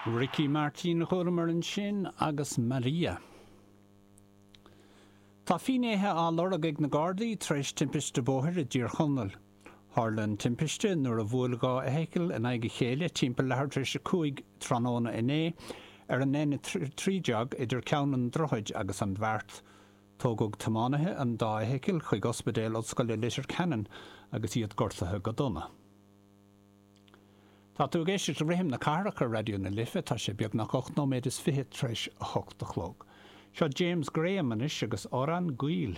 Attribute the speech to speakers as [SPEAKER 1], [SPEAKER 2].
[SPEAKER 1] Ricky Martin a chualamar ansin agus Maria. Tá finnéithe á lorg ag na Gardaí tar éis timpiste bóthair i dTír Chonaill. Tharla an timpiste nuair a bhuail 2 fheithicil in aghaidh a chéile timpeall leathuair tar éis 5 tráthnóna inné ar an N13 idir Ceann an Droichid agus an Bheart. Tógadh tiománaithe an dá fheithicil chuig Ospidéal Ollscoile Leitir Ceanainn agus iad gortaithe go dona. Tá tú ag éisteacht le Rithim na Cathrach ar Raidió na Life, tá sé beagnach 8 nóiméad is fiche tar éis a hocht a chlog. Seo James Graham anois agus Amhrán Gaoil.